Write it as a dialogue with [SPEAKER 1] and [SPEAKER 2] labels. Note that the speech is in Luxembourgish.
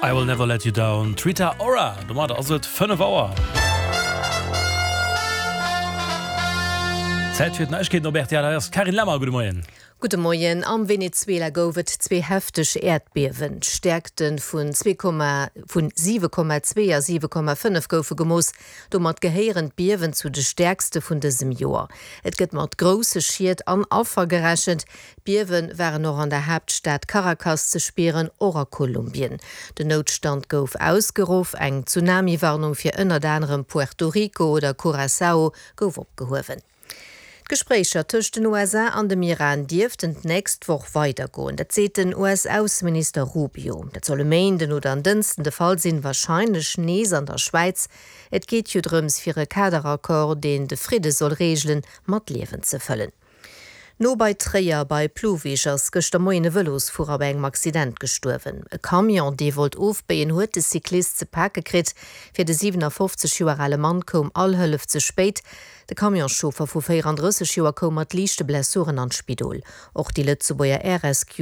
[SPEAKER 1] I will never let you down, d'Rita Ora. Domadder ass et 5 Auer. Zäit fir d'Neiegkeeten op rtl. Hei ass d'Carine Lemmer. Gudde Moien.
[SPEAKER 2] Gudde Moien. Am Venezuela gouf et zwee hefteg Äerdbiewen. D'Stäerkte vun 7,2 a 7,5 goufe gemooss. Domat gehéieren d'Biewen zu de stäerkste vun dësem Joer. Et gëtt mat grousse Schied an Affer gerechent. D'Biewe waren och an der Haaptstad Caracas ze spieren, och a Kolumbien. Den Noutstand gouf ausgeruff, eng Tsunami-Warnung fir ënnert anerem Puerto Rico oder Curaçao gouf opgehuewen. D'Gespréicher tëscht den USA an dem Iran dierften d'nächst Woch weidergoen. Dat seet den US-Ausseminister Rubio. Dat soll e Méinden oder en Dënschden de Fall sinn, warscheinlech nees an der Schwäiz. Et geet jo drëms, fir e Kaderaccord, deen de Fridde soll reegelen, mat Liewen ze fëllen. No bei Tréier bei Plouwig ass gëschter Moien e Vëlosfuerer bei engem Accident gestuerwen. E Camion, dee wollt ofbéien, huet de Cyclist ze pake kritt. Fir de 57 Joer ale Mann koum all Hëllef ze spéit. De Camionschauffer vu 34 Joer koum mat liichte Blessuren an d'Spidol. Och déi Lëtzebuerger Air Rescue.